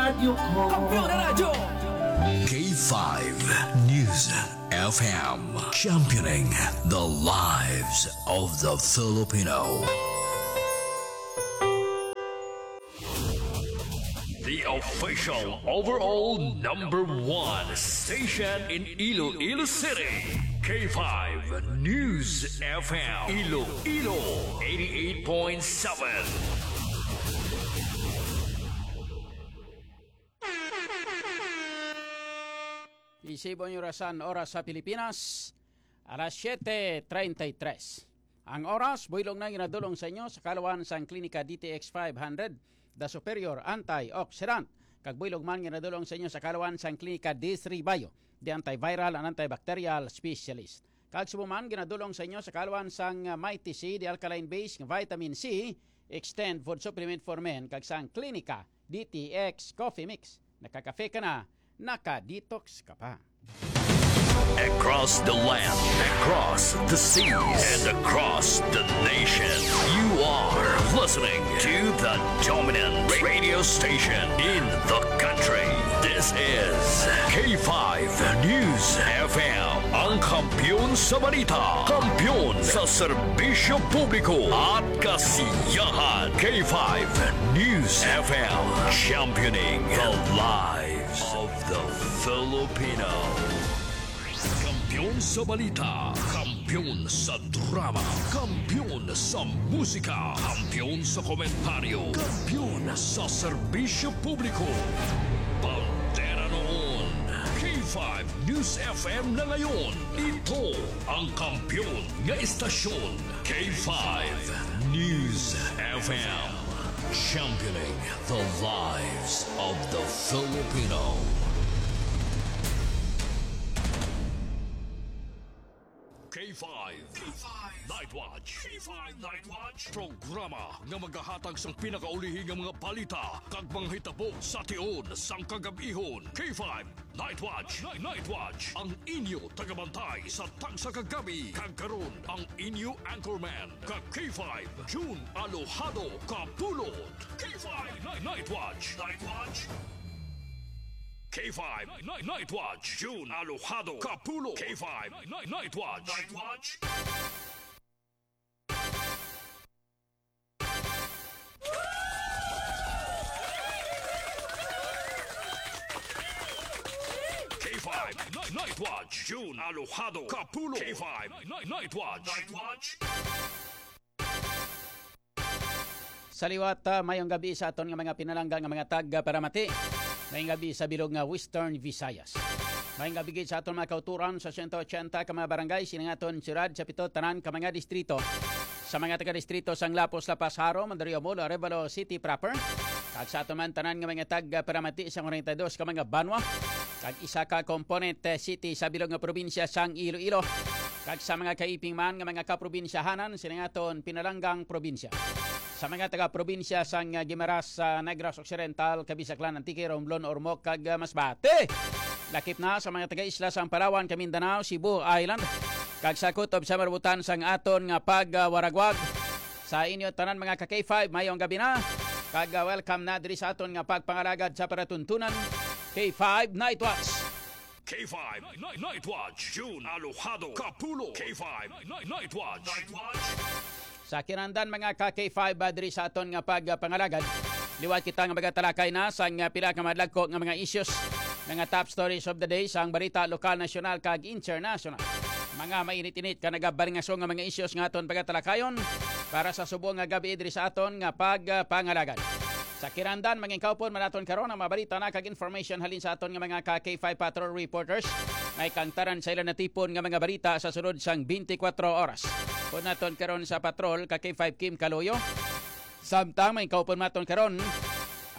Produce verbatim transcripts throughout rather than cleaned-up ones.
Kampiyon na Radyo. K five News F M, championing the lives of the Filipino. The official overall number one station in Iloilo City, K five News F M, Iloilo, eighty-eight point seven. Isibon yung orasan, oras sa Pilipinas, alas siete treinta y tres. Ang oras, buylog na ginadulong sa inyo sa kaluan sang Klinika D T X five hundred, The Superior Antioxidant. Kag buylog man ginadulong sa inyo sa kaluan sang Klinika D three Bio, The Antiviral and Antibacterial Specialist. Kag subong man ginadulong sa inyo sa kaluan sang, uh, Mighty C, The Alkaline Base nga Vitamin C, Extend Food Supplement for Men, kag sang Klinika D T X Coffee Mix. Nakakafe ka na, naka-detox ka pa. Across the land, across the seas, and across the nation, you are listening to the dominant radio station in the country. This is K five News F M, ang kampiyon sa balita, kampiyon sa serbisyo publiko at kasiyahan. K five News F M, championing the lives of the Filipino. Kampiyon sa balita, kampiyon sa drama, kampiyon sa musika, kampiyon sa komentaryo, kampiyon sa serbisyo publiko. Bandera noon, K five News F M na ngayon. Ito ang kampiyon nga istasyon, K five News F M. Championing the lives of the Filipino. K five Night Watch. K five Night Watch. Programa nga magahatag sang pinakaulihi nga mga balita kag mga hitabo sa tion sang kagab-ihon. K five Night Watch. Night, Night Watch. Ang inyo tagabantay sa tagsa ka gabi. Kag karon, ang inyo anchorman, ka K five, June Alojado Kapulot. K five Night, Night Watch. Night Watch. K five Night, Night Watch. June Alojado Kapulot. K five Night, Night Watch. Night Watch. K five Night, Night Watch, June Alojado Kapulot. K five Night, Night Watch. Night Watch. Sa liwat, ah, mayong gabi sa aton nga mga pinalangga nga mga tagparamati. Mayong gabi sa bilog nga Western Visayas. Mayong gabi gid sa aton mga kauturan sa sento ochenta ka mga barangay, sining aton siyudad, sa pito tanan ka mga distrito. Sa mga taga-distrito sang Lapus, La Paz, Jaro, Mandaluyong Molo, Arevalo City proper, kag sa aton man tanan nga mga tagparamati sa kwarenta y dos ka mga banwa, kag isa ka component, eh, city sa bilog nga probinsya sang Iloilo, kag sa mga kaiping man nga mga kaprobinsyahanan sining aton pinalanggang probinsya. Sa mga taga-probinsya sang, ah, Guimaras, sa Negros Occidental, Cabisaclan, Antique, Romblon, Ormoc, kag, ah, Masbate. Lakip na sa mga taga-isla sang Palawan, kag Mindanao, Cebu Island, kag sa kutob sa marabutan sang aton nga pagwaragwag. Sa inyo tanan, mga ka K five, mayong gabi na. Kag, ah, welcome na diri sa aton nga pagpangalagad sa palatuntunan, K five Night Watch. K five Night, Night Watch, June Alojado Kapulot. K five Night, Night Watch. Night Watch. Sa kinahanglan, mga ka K five, ah, diri sa aton nga pagpangalagad, liwat kita nga magatalakay na sang, ah, pila ka madlagko nga mga issues, mga top stories of the day sang balita lokal, nasyonal, kag international. Mga mainit-init ka nagabalingaso nga mga issues nga aton pagatalakayon para sa subong nga gabi diri sa aton nga pagpangalagad. Sa kinahanglan, mangin kaupon man naton karon ang mga balita na kag information halin sa aton nga mga ka K five Patrol reporters. May kangtaran sa ila natipon nga mga balita sa sulod sang twenty-four oras. Upod naton karon sa patrol ka K five Kim Kaloyo. Samtang may kaupon naton karon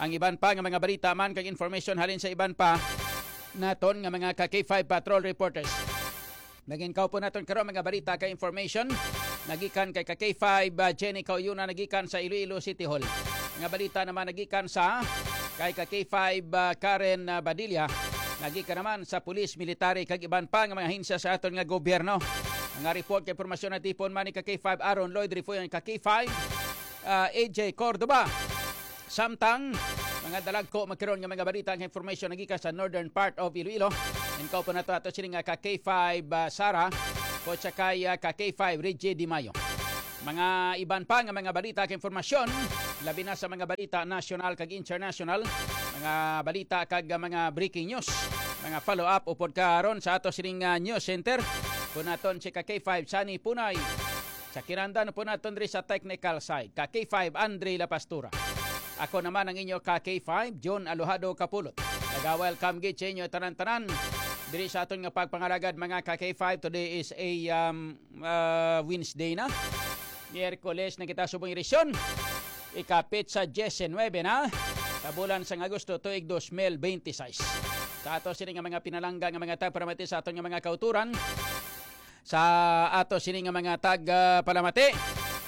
ang iban pa nga mga balita man kag information halin sa iban pa naton nga mga ka K five Patrol reporters. Naging kaupon naton karon mga balita kag information nagikan kay ka K five, ah, Jenny Kauyuna nagikan sa Iloilo City Hall. Mga balita naman nagikan sa kay ka K five, ah, Karen, ah, Badilla nagikan naman sa pulis, military kag iban pa nga mga ahensya sa aton nga gobyerno. Mga report kag impormasyon natipon man ni ka K five Aaron Lloyd Refuyon, ka K five, ah, A J Cordova. Samtang Nga dalagko magkaron nga mga balita, ang information nagikan sa northern part of Iloilo. And kaupo na to ato sini nga ka K five, ah, Sara, o sa kay, ah, ka K five, Reggie Di Mayo. Mga iban pa nga mga balita kag informasyon, labi na sa mga balita nasyonal kag international, mga balita kag, ah, mga breaking news, mga follow-up upod karon sa ato sining, ah, news center. Kung naton si ka K five, Sunny Punay. Sa kinahanglan po naton diri sa technical side, ka K five, Andre La Pastura. Ako naman ang inyo ka K five, John Alojado Kapulot. Naga-welcome gid sa inyo tanan-tanan diri sa aton nga pagpangalagad, mga ka K five. Today is a, um, uh, Wednesday na. Miyerkules na kita subong edisyon. Ikapit sa diecinuebe na sa bulan sang Agosto tuig dos mil benti sais. Sa ato sini nga mga pinalangga nga mga tagparamati sa aton nga mga kauturan, sa ato sini nga mga tag, ah, palamati,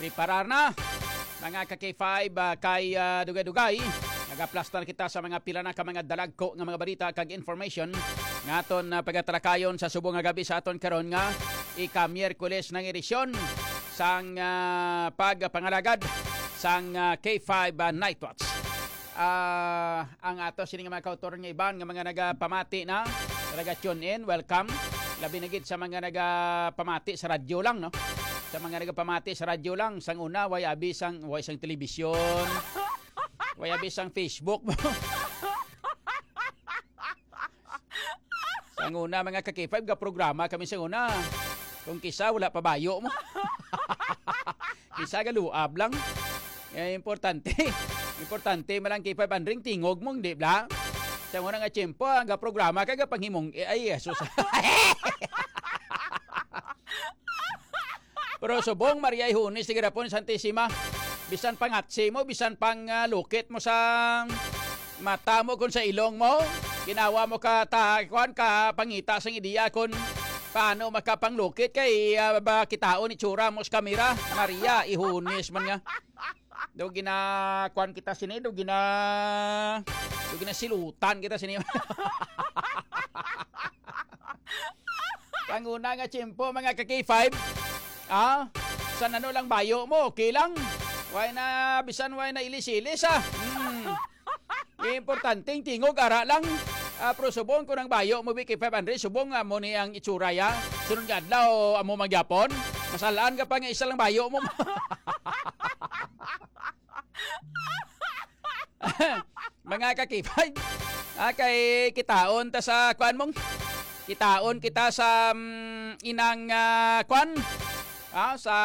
preparar na, mga ka K five, ah, kay, ah, dugay-dugay nagaplastar kita sa mga pila na ka mga dalagko nga mga balita kag information nga aton, ah, pagatalakayon sa subong nga gabi sa aton karon nga ika-Miyerkules ng edisyon sang, ah, pagpangalagad sang, ah, K five, ah, Night Watch. Ah, ang ato sini nga mga kauturan nga iban nga mga nagapamati na, naga-tune in, welcome. Labi na gid sa mga nagapamati sa radyo lang, no? Sa mga nagapamati sa radyo lang, sang una, way abi sang, way sang telebisyon, way abi sang Facebook. Sang una, mga ka K five, ga programa kami sang una. Kung kisa, wala pa bayo mo. Kisa, galuab lang. Eh, importante. Importante man lang K five, Andring, tingog mo, di ba? Sang una nga tiyempo, ang ga programa ka, ga panghimong, eh, ay, Jesus. Pero subong, Maria Ihunis, sige rapon, Santisima. Bisan pangatsi mo, bisan pang, ah, lukit mo sa mata mo, kung sa ilong mo, ginawa mo ka ta-, kuwan, ka pangita sang ideya kung paano makapanglukit kay, ah, ba, kitaon ni tsura mo sa kamera. Maria, Ihunis man nga. Do gina-, kuwan kita sini, do gina-, do ginasilutan kita sini. Panguna nga tiyempo, mga ka K five. Ah, sa nano lang bayo mo, okay lang. Way na, bisan way na ilis-ilis, ah. Hmm. Importante, ang tingog, ara lang. Ah, pero subong ko ng bayo mo, B K five hundred, subong nga mo ni ang itsura, ya. Sunod nga adlaw, amo magyapon. Masalaan ka pa nga isa lang bayo mo. Mga ka K five, ah, kay kitaon ta sa kuan mong, kitaon kita sa, mm, inang, ah, kuan, ah, sa,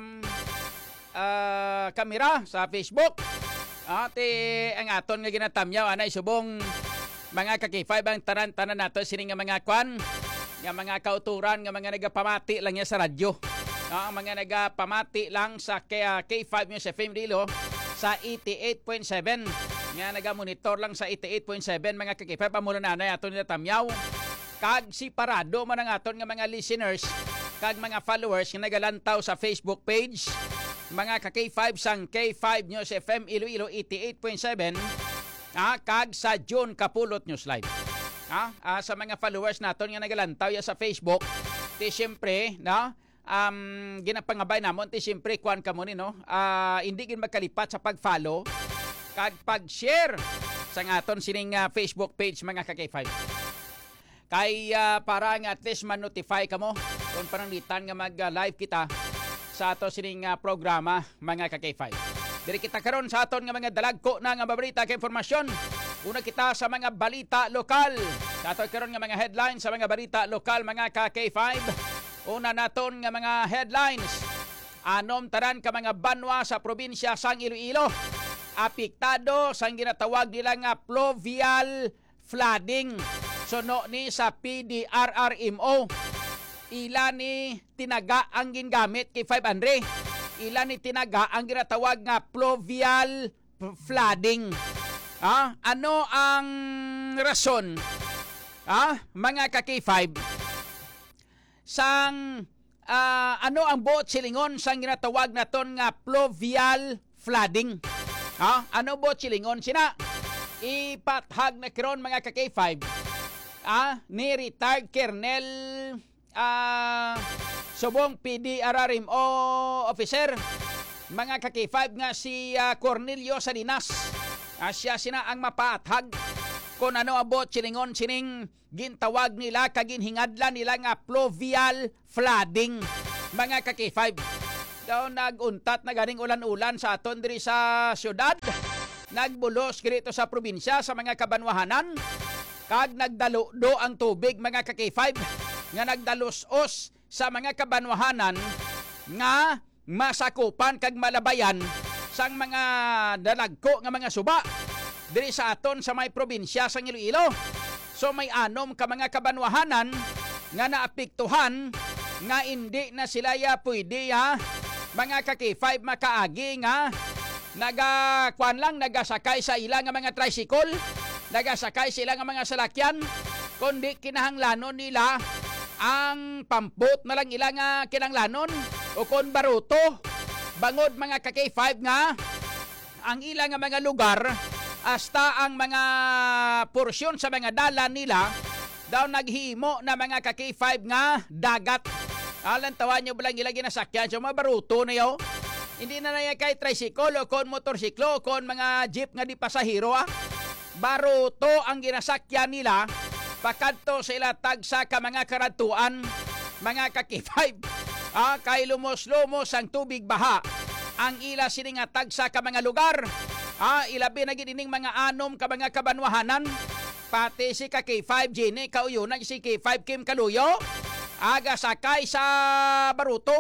mm, ah, kamera sa Facebook. Ah, ti ang aton nga ginatamyaw anay subong, mga ka K five, ang tanan-tanan nato sini nga mga kuan, nga mga kauturan, nga mga nagapamati lang niya sa radyo. No, ang mga nagapamati lang sa K-, ah, K five News F M Iloilo sa eighty-eight point seven. Nga nagamonitor lang sa eighty-eight point seven, mga ka K five, amo na nanay ato nila tamyaw. Kag separado man ang aton nga mga listeners kag mga followers nga nagalantaw sa Facebook page, mga ka K five, sang K five News F M Iloilo eighty-eight point seven, ah, kag sa June Kapulot News Live. Ah, ah, sa mga followers naton nga nagalantaw ya sa Facebook, ti siyempre, no? Um, ginapangabay namon ti siyempre kuan kamo ni, no? Ah, hindi gid magkalipat sa pag-follow kag pag-share sa aton sining, ah, Facebook page, mga ka K five. Kay, ah, para nga at least ma-notify kamo kung pananglitan nga mag, ah, live kita sa ato sining, ah, programa, mga ka K five. Diri kita karon sa aton nga mga dalagko na nga mabalita kag impormasyon. Una kita sa mga balita lokal. Sa ato karon nga mga headlines sa mga balita lokal, mga ka K five. Una naton nga mga headlines. Anom tanan ka mga banwa sa probinsya sang Iloilo apektado sang ginatawag nila nga pluvial flooding. Suno ni sa P D R R M O, ila ni tinaga ang gingamit kay five hundred. Ila ni tinaga ang ginatawag nga pluvial flooding. Ah, ano ang rason? Ah, mga ka K five, sang, ah, ano ang buot silingon sang ginatawag naton nga pluvial flooding? Ha? Ano buot silingon sina? Ipathag na karon, mga ka K five, ah, ni retired Colonel, ah, subong P D R R M O officer, mga ka K five, nga si, ah, Cornelio Salinas. Ah, siya sina ang mapaathag kon ano ang buot silingon sining gintawag nila kag ginhingadlan nila nga fluvial flooding, mga ka-K five. Daw nag-untat na ganing ulan-ulan sa aton diri sa syudad. Nagbulos gani to sa probinsya, sa mga kabanwahanan, kag nagdaludo ang tubig, mga ka-K five, nga nagdalos-os sa mga kabanwahanan nga masakupan kag malabayan sang mga dalagko nga mga suba diri sa aton sa may probinsya sang Iloilo. So, may anom ka mga kabanwahanan nga naapektuhan nga indi na sila ya pwede ya, mga ka-K five, makaagi nga naga-, kuwan lang, nagasakay sa ila nga mga tricycle, nagasakay sa ila nga mga salakyan, kundi kinahanglanon nila ang pampot na lang ila nga kinahanglanon, o kon baruto, bangod, mga ka-K five, nga ang ila nga mga lugar, hasta ang mga porsyon sa mga dalan nila, daw naghimo na, mga ka-K five, nga dagat. Alantawan nyo ba lang ila ginasakyan sa mga baruto na yo? Hindi na na yan kay tricycle o kon motorsiklo o kon mga jeep nga di pasahero, ah. Baruto ang ginasakyan nila pakadto sa ila tagsa ka mga karadtuan, mga ka-K five. Ah, kay lumos-lumos ang tubig baha ang ila sini nga tagsa ka mga lugar. Ah, ilabi na gid ining mga anom ka mga kabanwahanan. Pati si ka-K five Jenny Kauyonan, si K five Kim Kaluyo, aga sakay sa baruto.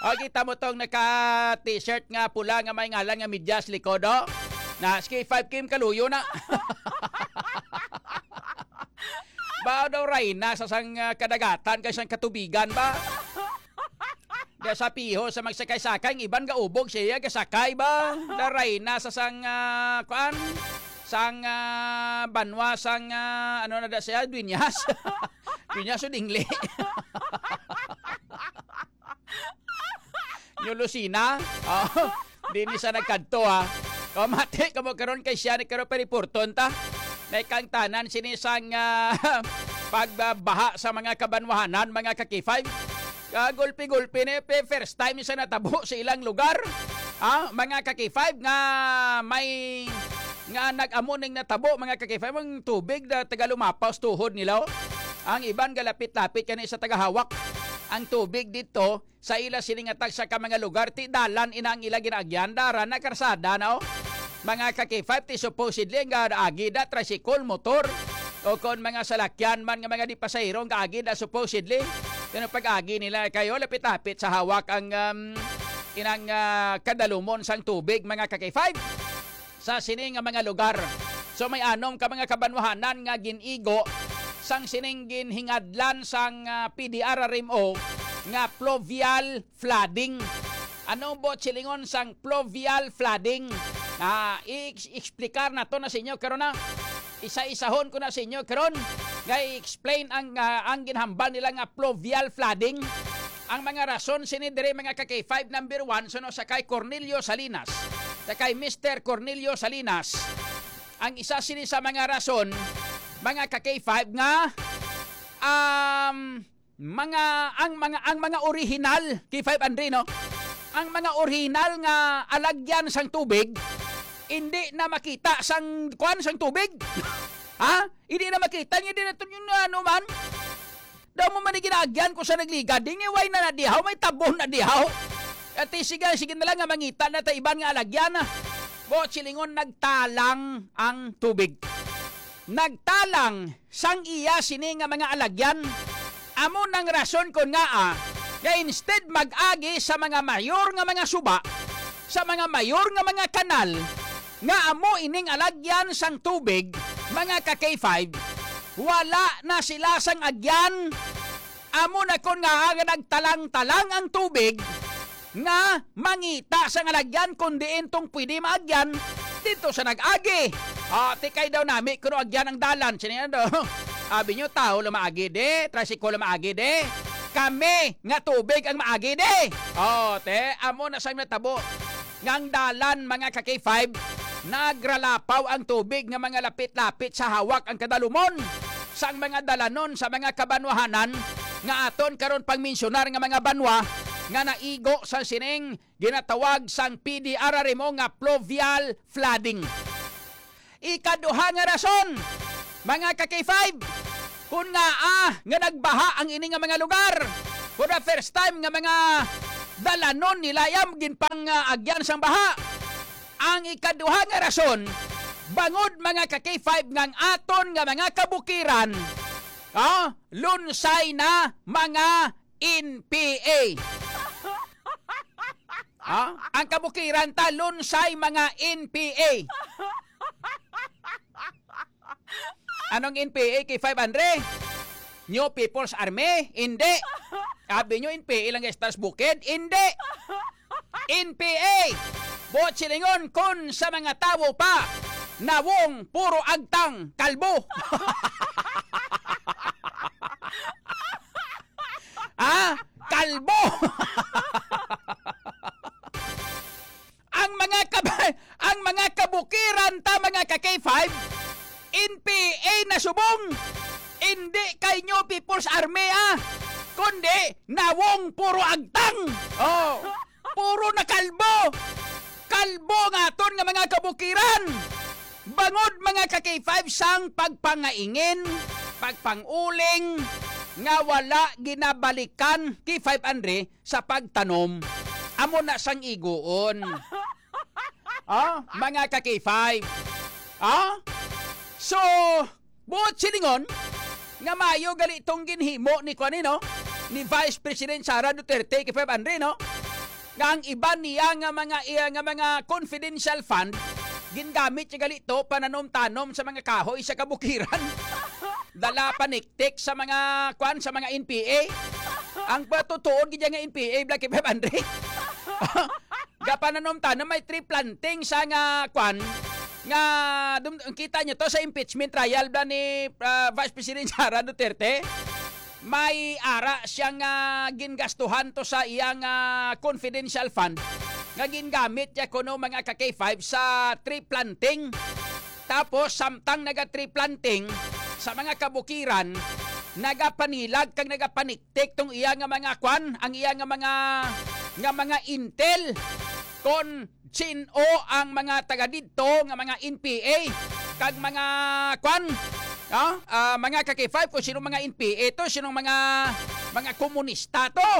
O, kita mo tong naka-t-shirt nga pula nga may ngalan nga medyas likod, oh. Na, si K five Kim Kaluyo na. Ba daw rayna sa sang, ah, kadagatan kay sang katubigan ba? Ga sa piho sa magsakay-sakay, ang iban gaubog siya, gasakay ba? Da rayna sa sang, ah, kuan? Sang, ah, banwa, sang, ah, ano na da siya? Dueñas. Dueñas o dingli. New Lucena. Oh, di ni sa nagkadto, ha. Kamati kamo karon kay siya ni karon pa reporton ta. Naikangtanan sini sang, ah, pagbaha sa mga kabanwahanan, mga ka-K five. Kagulpi-gulpi ni pe, first time sa natabo sa ilang lugar. Ah, mga ka-K five, nga may, nga nag-amo ning natabo, mga ka-K five, ang tubig na taga lumapaw sa tuhod nila, oh. Ang iban galapit-lapit kani sa tagahawak. Ang tubig dito sa ila sini nga tagsa ka mga lugar, ti dalan ina ang ila ginaagyan, dara na karsada na, oh. Mga ka-K five, ti supposedly ang gaagi da tricycle, motor, o kon mga salakyan man nga mga di pasahero ang gaagi da supposedly. Pero pag-agi nila kayo, lapit-lapit sa hawak ang, um, inang, ah, kadalumon sang tubig, mga ka-K five, sa sini nga mga lugar. So, may anom ka mga kabanwahanan nga gin-igo sang sining ginhingadlan sang, ah, P D R R M O nga fluvial flooding. Ano buot silingon sang fluvial flooding? Ah, i-, explicar nato na sa inyo karon na. Isa-isahon ko na sa inyo karon. Nga i-explain ang, ah, ang ginhambal nila nga fluvial flooding. Ang mga rason sini diri, mga ka-K five, number one, suno sa kay Cornelio Salinas. Sa kay Mister Cornelio Salinas. Ang isa sini sa mga rason, mga ka-K five, nga, um, mga, ang mga, ang mga orihinal, K five Andre, no? Ang mga orihinal nga alagyan sang tubig, hindi na makita sang, kuan, sang tubig. Ha? Hindi na makita niya, di na to yun, ano man. Daw mo man ni ginaagyan ko sa nagligad, di ni way na nadihaw, may tabon na dihaw. Ati, sige, sige na lang nga mangita na ta iban nga alagyan, ah. Buot silingon, nagtalang ang tubig. Nagtalang sang iya sini nga mga alagyan. Amo nang rason kon ngaa nga instead mag-agi sa mga mayor nga mga suba, sa mga mayor nga mga kanal, nga amo ining alagyan sang tubig, mga ka-K five, wala na sila sang agyan. Amo na kon ngaa nga nagtalang-talang ang tubig, nga mangita sa nga lagyan kon diin tong pwede maagyan dito sa nag-agi. Ah, ti kay daw nami kuno agyan ang dalan. Sini ano? Abi nyo, tao lang maagi di, tricycle lang maagi di. Kami nga tubig ang maagi di. Oh, te, amo na sa natabo. Nga ang dalan, mga ka-K five, nagralapaw ang tubig nga mga lapit-lapit sa hawak ang kadalumon sang mga dalanon sa mga kabanwahanan nga aton karon pang mensyonar nga mga banwa nga naigo sa sining ginatawag sang P D R R M O nga pluvial flooding. Ikaduha nga rason, mga ka-K five, kun ngaa nga nagbaha ang ini nga mga lugar, for the first time nga mga dalanon nila yam ginpang-, ah, agyan sang baha. Ang ikaduha nga rason, bangod, mga ka-K five, nga ang aton nga mga kabukiran, ah, lunsay na mga N P A. Ha? Ang kabukiran ta, lunsay mga N P A. Anong N P A, K five Andre? New People's Army? Hindi. Abi nyo, N P A lang Stars Bukid? Hindi. N P A. Buot silingon, kun sa mga tawo pa, nawong puro agtang kalbo. Ah, kalbo. Ang mga kab-, ang mga kabukiran ta, mga ka-K five, N P A na subong. Hindi kay New People's Army, ah, kundi nawong puro agtang. Oh, puro na kalbo. Kalbo nga aton nga mga kabukiran. Bangod, mga ka-K five, sang pagpangaingin, pagpanguling, nga wala ginabalikan, K five Andre, sa pagtanom. Amo na sang iguon. Ah, mga ka-K five. Ah? So, buot silingon, nga maayo gali tong ginhimo ni kuan, no? Ni Vice President Sara Duterte, K five Andre, no? Nga ang iban niya nga mga, iya nga mga confidential fund, gingamit niya gali to pananom-tanom sa mga kahoy sa kabukiran. Dala paniktik sa mga, kuan, sa mga N P A. Ang patutuod gid nga N P A, Black K five Andre. Gapananom-tanom, may tree planting sa nga, kuan, nga dum-, kita nyo to sa impeachment trial ba ni, ah, Vice President Sara Duterte? May ara siya nga gingastuhan to sa iyang, ah, confidential fund nga gingamit niya kuno, mga ka-K five, sa tree planting. Tapos, samtang naga-tree planting sa mga kabukiran, nagapanilag kag nagapaniktik tong iya nga mga kwan, ang iya nga mga, nga mga intel, kon sin-o ang mga taga didto nga mga N P A kag mga kwan, ah, ah, mga ka-K five, kung sino mga N P A to, sinong mga, mga komunista to.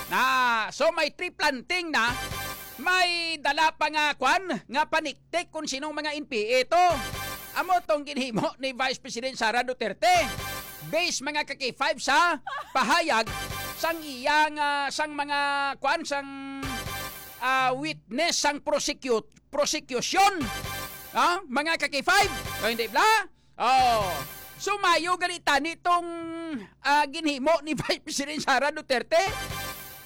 Na, so, may tree planting na, may dala pa nga kwan, nga panik-, tik kon sinong mga N P A to. Amo tong ginhimo ni Vice President Sara Duterte. Based, mga ka-K five, sa pahayag sang iyang, ah, sang mga, kuan, sang, ah, witness sang prosecute-, prosecution. Ah, mga ka-K five? O, hindi bala? Oh. So, maayo gali tani tong, ah, ginhimo ni Vice President Sara Duterte.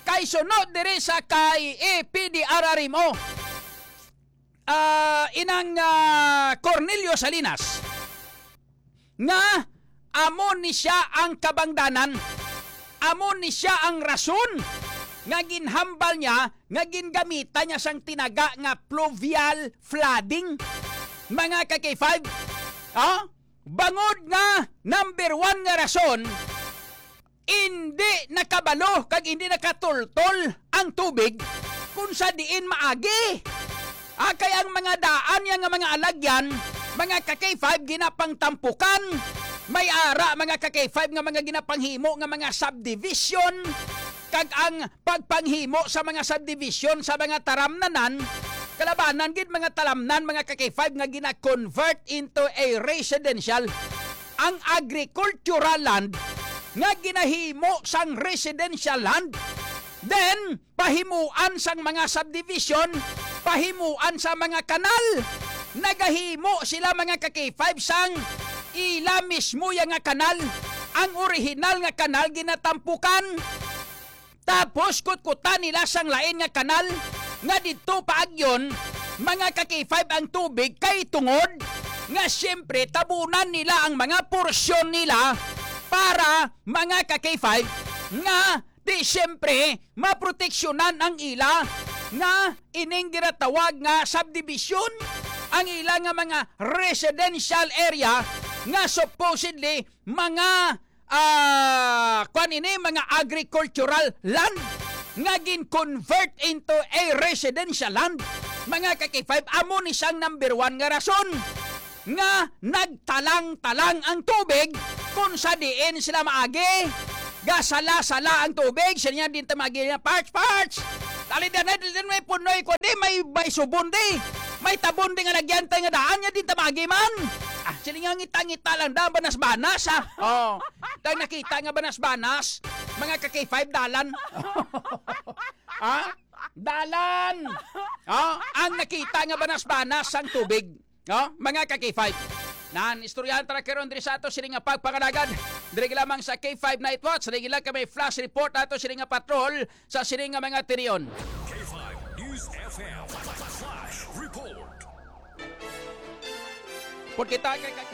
Kay sunod diri sa kay A P D R R M O, ah, inang, ah, Cornelio Salinas, nga amo ni siya ang kabangdanan, amo ni siya ang rason nga ginhambal niya, nga gingamitan niya sang tinaga nga pluvial flooding. Mga ka-K five, ah, bangod nga number one nga rason, indi nakabalo kag indi nakatultol ang tubig kung sa diin maagi. Ah, kay ang mga daan niya nga mga alagyan, mga ka-K five, ginapangtampukan. May ara, mga ka-K five, nga mga ginapanghimo nga mga subdivision, kag ang pagpanghimo sa mga subdivision sa mga taramnanan, kalabanan gid mga talamnan, mga ka-K five, nga gina-convert into a residential, ang agricultural land nga ginahimo sang residential land, then pahimuan sang mga subdivision, pahimuan sa mga kanal. Nagahimo sila, mga ka-K five, sang ila mismo ya nga kanal. Ang orihinal nga kanal ginatampukan. Tapos kutkutan nila sang lain nga kanal nga didto paagyon, mga ka-K five, ang tubig, kay tungod nga siyempre tabunan nila ang mga porsyon nila para, mga ka-K five, nga di siyempre maproteksyonan ang ila nga ining ginatawag nga subdivision, ang ila nga mga residential area nga supposedly mga, ah, kwan ini, mga agricultural land. nga gin-convert into a residential land. Mga ka-K five, amo ni siyang number one nga rason nga nagtalang-talang ang tubig kung sa diin sila maagi. Gasala-sala ang tubig, siya niya din ta maagi niya, "Parts, parts! Dali din, dali din, may punoy ko, di may, may subon, di may tabon, di nga nagyantay nga daan niya din ta maagi man." Ah, sila nga ngita-ngita lang, daan banas-banas, ha? Oh, dahil nakita nga banas-banas, mga ka-K five dalan. Ha? Dalan! Oh, ang nakita nga banas-banas ang tubig. Oh, mga ka-K five. Nan, istoryahan ta na karon diri sa ato sini nga pagpangalagad. Diri lamang sa K five Night Watch, diri lang kami flash report ato sini nga patrol sa sini nga mga tinion. K five News F M Flash Report. Port kita kay ka-,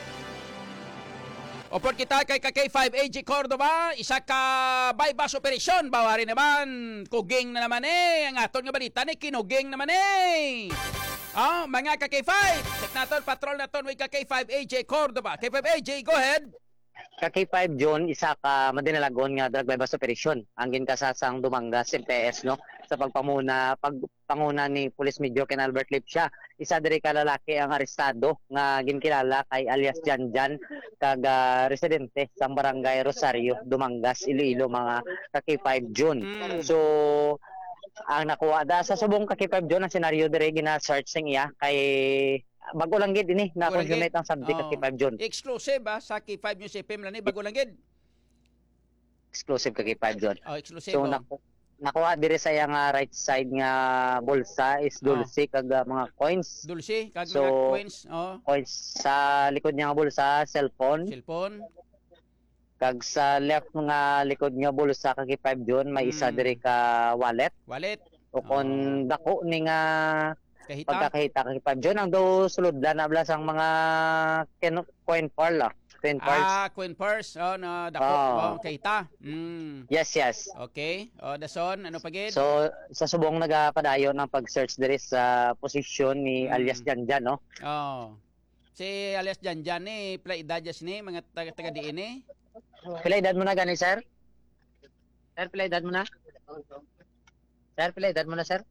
o port kita kay ka K five A J Cordova, isa ka buy-bust operasyon, bawari naman, kuging na naman eh, ang aton nga balita ni kinuging naman eh. Oh, mga ka K five, check naton, patrol naton with ka K five A J Cordova. K five A J, go ahead. Ka K five John, isa ka madinalagon nga drug buy-bust operation ang ginkasasang Dumangas M P S, no, sa pagpamuna pagpanguna ni Police Major Ken Albert Lipsia. Isa diri ka lalaki ang arestado nga ginkilala kay alias Janjan, kag ah, residente sa barangay Rosario, Dumangas, Iloilo, mga ka K five John. Mm. So, ang nakuha da sa subong ka K five John, ang senaryo diri gina-search sing iya kay bago lang gid ini na Bago lang gid. Consummate ang subject ka Oh. K five John. Exclusive, ah, sa K five News F M lang ni, bago lang gid. Exclusive ka K five John. Oh, exclusive, So, oh. naku-, nakuha diri sa iya nga right side nga bulsa is Oh. dulce kag ah, mga coins. Dulce, kag So, mga coins, oh. coins sa likod niya nga bulsa, cellphone. Cellphone. Kag sa left nga likod nga bulsa ka K five John, may isa Mm. diri ka wallet. Wallet. O kung Oh. dako ni nga Kahita? pagkakahita ka K five John, ang daw sulod lang na bala sang mga ken-, coin pearl, ah. Coin pearls. Ah, coin purse. Oh, na dako. Oo. Oh, kahita. Mm. Yes, yes. Okay. Oh, dason, ano pa gid? So, sa subong nagapadayon ang pag-search diri sa posisyon ni Mm. alias Janjan, no? Oh. Si alias Janjan ni, pila edad dyan ni, mga taga, taga diin ni? Pila edad mo na gani, sir? Sir, pila edad mo na? Sir, pila edad mo na, sir?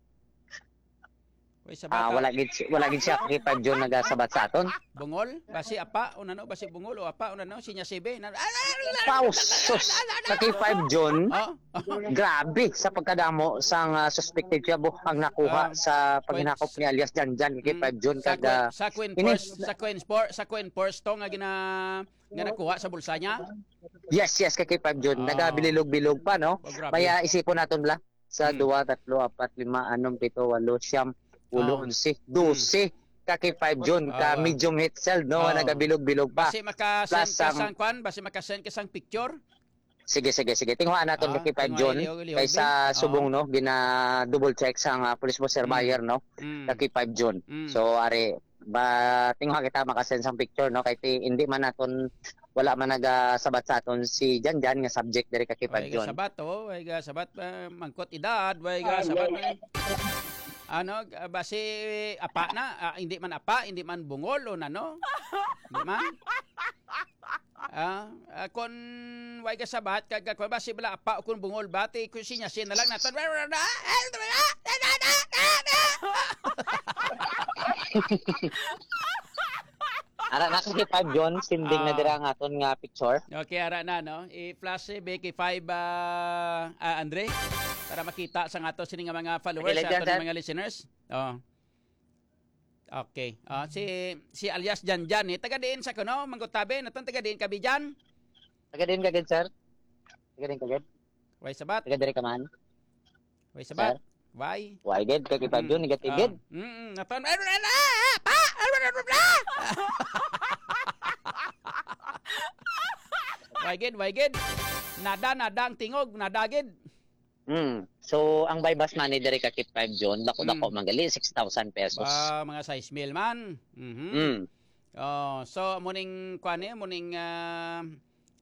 Uy, sa Ah, bata. wala gid si-, wala gid siya K five John nagasabat sa aton. Bungol? Basi apa o nano? Basi bungol o apa o nano? Sinya sibe? Na, ah, ah, ah, Pausos sa K five John. Oh? Grabe sa pagkadamo sang ah, suspected siya, bo, ang nakuha Ah, sa paghinakop points. ni alias Janjan kay Mm, K five John sa kag, Queen, ah, sa Queen ini Force, sa Queen Force, sa Queen Force to nga gina-, nga nakuha sa bulsa niya? Yes, yes, kay K five John. Ah. Nagabililog-bilog pa, no? Oh, grabe. Maya isipon naton bala sa Mm. dua, tatlo, apat, lima, anom, pito, walo, siyam, ulo, Oh. onse, Mm. dose ka K five John, ka Ah, wa. medium heat shield, no? Oh. Nagabilog-bilog pa. Basi maka-send Plus ka ang sang kwan, basi maka-send ka sang picture. Sige, sige, sige. Tinguhaan naton Ah, ka K five tinguha, John. Ilihog, ilihog, Kay sa ah. subong, no, gina-double check sa nga police po, sir, Mm. buyer, no? Mm. Ka K five John. Mm. So, ari, ba, tinguha kita makasend sang picture, no? Kay ti-, hindi man naton, wala man nagasabat sa aton si Janjan nga subject diri ka K five Ay, John. Sabat, oh. Ay, sabat, ah, mangkot edad, way Ah, sabat, yeah. eh. Ano, ah, basi apa na, ah, hindi man apa, hindi man bungol o nano. Di man? Ah, ah, kon way ka sabat, kag, kag, basi bala apa o kon bungol, bati ko sinya, siya na lang naton. Ara na si Five John, sending na Ah. dira ang aton nga picture. Okay, ara na, no? I-flash si Becky Five, ah, ah, Andre, para makita sa ato sini nga mga followers, Kilid sa yan, aton sir. mga listeners. Oh. Okay. Ah, si, si alias Janjan, eh. Taga diin sa kuno, Manggotabe, naton taga diin ka, Bijan? Taga diin ka gid, sir? Taga diin ka gid? Way sabat. Taga diri ka man? Way sabat. Sir? Way. Way gid, kay kita Mm. dun, negative Ah. gid. Mm-mm. Naton, ah, ah, ah, pa! Ah, ah, ah, ah, ah! Way gid, way gid. Nada, nada ang tingog, nada gid. Hmm. So, ang buy bust money diri ka Kip Five John, dako-dako Hmm. man gali, six thousand pesos. Ba, mga sais mil man. Mhm. Hmm. Oh, so, muning, kuan eh, muning, ah,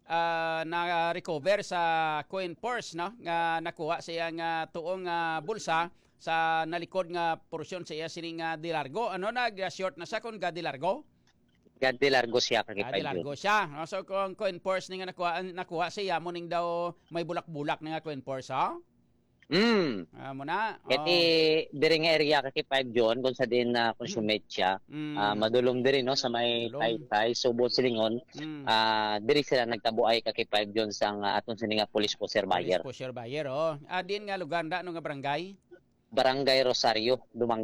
ah, na-recover sa coin purse, no? Nga nakuha sa iyang, ah, tuong, ah, bulsa sa nalikod nga porsyon sa iya sining, ah, dilargo. Ano, nag-short na siya kung gadilargo? Gadilargo siya, ka Kip Five John. Gadilargo siya. No? So, kung coin purse ni nga nakuha, nakuha sa iya, muning daw may bulak-bulak na nga coin purse, ha? Mm. Ah, mo na. Kati diri nga area ka K five John kung sa din na consummate siya. Mm. Ah, madulom diri, no, sa may Dulom. Taytay, Subo, Silingon. Mm. Ah, diri sila nagkabuay ka K five John sang ah, aton sini nga police pusher buyer. Pusher buyer, oh. Ah, din nga lugar, da, ano nga barangay? Barangay Rosario, Dumangan.